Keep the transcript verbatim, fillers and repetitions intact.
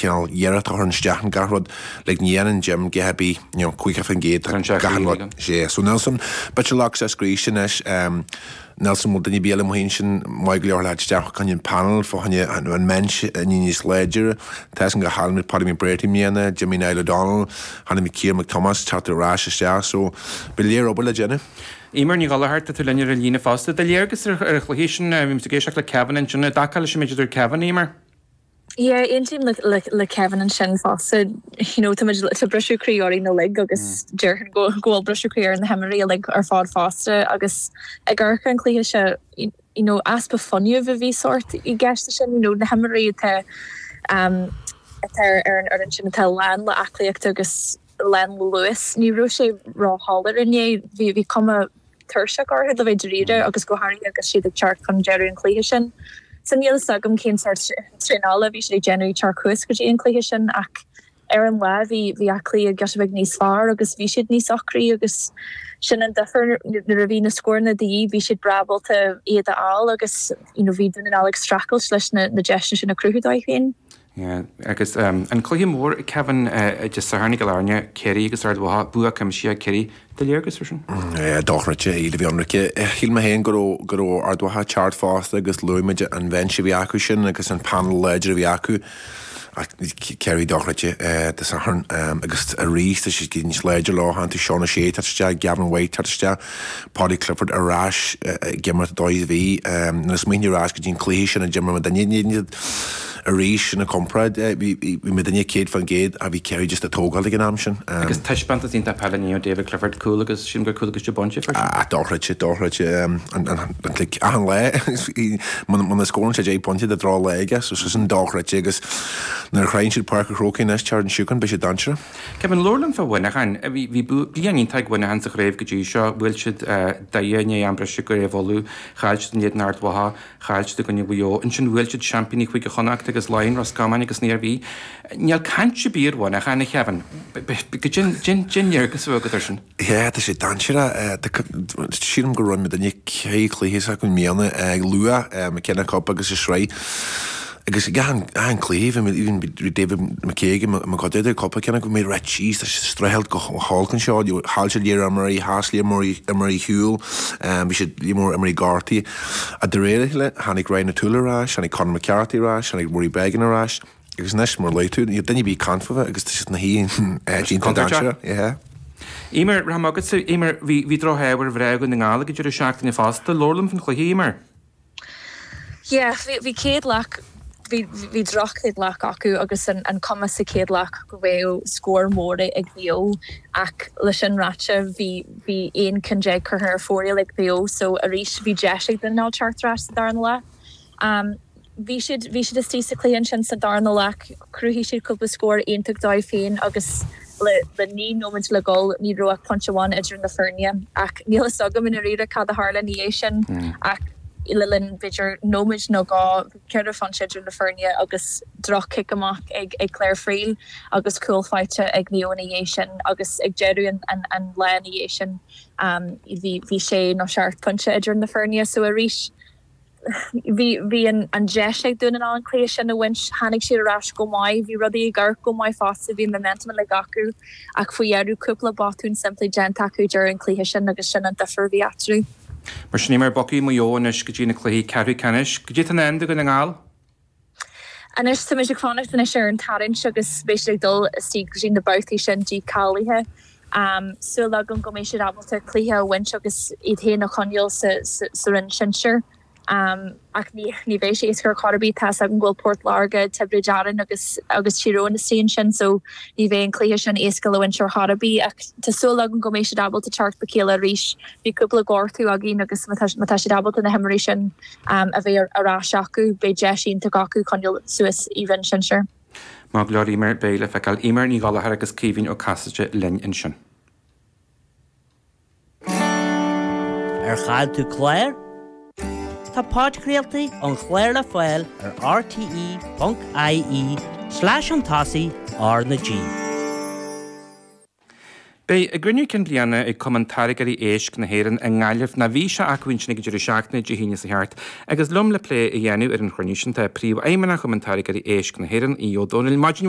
cineál iarracht a chur isteach in gach rud like ní dhéanann Jim go bí you know caoga faoin gcéad gach rud sé so Nelson but lock sa scríos anois um, Nelson bhfuil duine bí mu sin maith go leor le isteach chun an panel fá choinne an bench níos láidre Tá an go háil Paddy McBrearty miana Jimmy Niall O'Donnell Hanna McKeer McThomas teacht ar ais isteach so ba léir obair le déanamh. Eimear Ní Ghallchóir tá tú linn ar an líne fosta do léargas ar ar chluiche sin bhí ag éisteacht le Kevin ansin dá leis méid Kevin Eimear. Yeah, aontaím le, le, le Kevin ansin fosta you know, tá tá briseadh croí orainn uilig agus déarfainn go go bhfuil briseadh croí ar na himreoirí uilig ar fad fosta agus ag amharc an cluiche se you know, easpa fuinnimh a bhí sort i gceist sin you know, na himreoirí atá um, atá ar an ar an sin atá lán le aclaíocht agus lán le luas ní raibh sé róshoiléir inné bhí bhí cuma tuirseach orthu le bheith dáiríre agus go háirithe agus siad ag teacht chun deireadh an chluiche sin. So níl a fhios agam cén sort traenála bhí siad ag déanamh teacht chuas go dtí an cluiche sin ach ar an lá bhí bhí aclaí ag bheith níos fearr agus bhí siad níos ocraí agus sin an difear nuair a bhí na scóranna de dhíth bhí siad breá ábalta iad a fháil agus you know, bhí Dún na nGall ag streachailt leis na, na deiseanna sin a chruthú dóibh féin. Yeah, agus um, an cluiche mór Kevin uh, Dé Sathairn i gCill Airne Ciarraí agus Ard Mhacha bua cuimsitheach Ciarraí do léargas sin? Dochreidte iad a bhí anraice. Shíl mé féin go go raibh Ard Mhacha ceart fosta agus luaigh an bench a bhí acu sin agus an panel láidir a bhí acu. Ciarraí dochreidte Dé Sathairn agus arís tá siad níos láidir lá tú Seán sé isteach Gavin White isteach Paddy Clifford ar ais ag imirt dóigh bhí na smaoine ar ais go dtí an cluiche sin a d'imir muidinne arís na comparáid bhí muidinne céad faoin gcéad a bhí Ciarraí just a tógáil ag an am sin. Agus taispeántas iontach peile ní David Clifford cúl agus sin gur cúl agus de bunte Dochreidte dochreidte achan lá muna scórann sé deich bpointe de drá léige so sin dochreidte agus nuair a chroíonn siad Páirc an Chrócaigh anois tear an siúcan beidh sé dainséarach. Kevin labhair liom fá Mhuineachán bhí bliain iontach ag Muineachán sa chraobh go dtí seo bhuail siad Doire ní an breise go réamh Uladh chaill siad in éadan Ard Mhacha chaill siad i gcoinne Mhaigh Eo ansin bhuail siad seaimpíní Chúige Chonnacht agus Laighin Ros Comáin agus ní bhí Níl caint ar bith ar Mhuineachán a Kevin go din léargas agat air sin. Yeah, tá sé dainséarach sílim go raibh muidinne ceithre chluiche acu mbliana ag luath McKenna Cup agus i sraith. Agus gan an cluiche even David McCaig ma go idir cúpla ceann go méid rá síos streachailt go hálcan seo chaill siad imreoirí sheas imreoirí shiúil bhí siad mór imreoirí gortaithe a de réir le tháinig Ryan O'Toole ar ais, tháinig Conor McCarthy ar ais, tháinig Rory Beggan ar ais agus anois mar luaigh tú duine bí caint fúthu agus tá siad na hí dainséarach. Eimear ra agat Eimear bhí bhí drochthébhar bhreag na nGall go deireadh seachtaine fosta labhair liom faoin chluiche Eimear. Yeah, bhí céad leath bhí bhí droch-chéad leath acu agus an, an cuma sa chéad leath go bhfuil scór mór ag Maigh Eo ach leis sin ráite bhí bhí aon cheann déag curtha ar fóraoil ag Maigh Eo so arís bhí deis ag Dún na nGall teacht ar ais sa darna leath. Um, bhí siad bhí siad istigh sa chluiche sin sa darna leath chruthaigh siad cúpla scór iontach dóibh féin agus le le naoi nóiméad le gol ní raibh ach pointe amháin idir na foirne ach níl a fhios agam i ndáiríre cad a tharla ina dhiaidh sin mm. ach le linn b'fhéidir nóiméad nó dhá ceithre phointe idir na foirne agus droch-chic amach ag ag Claire Friel agus cúl faighte ag Maigh Eo ina dhiaidh sin agus ag deireadh an, an, an lá ina dhiaidh sin um, bhí bhí sé nó seacht pointe idir na foirne so arís bhí bhí an an deis ag Dún na nGall an cluiche sin a bhaint tháinig siad ar ais go maith bhí rudaí ag amharc go maith fosta bhí momentum le acu ach faoi dheireadh cúpla botún simplí déanta acu during an cluiche sin agus sin an difear a bhí eatarthu. Mar sin mar bogfaidh Maigh Eo anois go dtí na cluichí ceathrú ceannais, go dtí an end go na nGall? Anois tá ag fanacht anois ar an tarraingt agus beidh siad ag dul istigh go dtí na babhtaí sin dícháilithe. Um, Súil agam go mbeidh siad ábalta cluiche a bhaint agus iad féin a choinneáil sa, sa, sa roinn sinsir. Um, ach ní ní bheidh sé éasca ar bith tá an bhfuil Port Láirge Tiobraid Árann agus agus Tír Eoghain istigh ansin so ní bheidh an cluiche sin éasca le bhaint ar chor ar bith ach tá súil agam go mbeidh siad ábalta teacht le chéile arís bhí cúpla gortú againn agus má tá siad ábalta na himreoirí sin um, a bheith ar ais acu beidh deis iontach acu coinneáil suas i roinn sinsir. Má glóir Eimear beidh le feiceáil Eimear Ní Ghallchóir agus Caoimhín Ó Casaide linn ansin. Ar chaill tú clár? Tá podchraoltaí an chláir le fáil ar rte.ie slash an tosaigh R na G. Beidh a gcruinniú cinn bliana ag Cumann Táirgeoirí Éisc na hÉireann i nGaillimh na bhí sé acu ansin ag an deireadh seachtaine Dé hAoine seo thart, agus liom le plé a dhéanamh ar an chruinniú sin tá príomhfheidhmeannach Chumann Táirgeoirí Éisc na hÉireann Aodh Ó Domhnaill. Maidin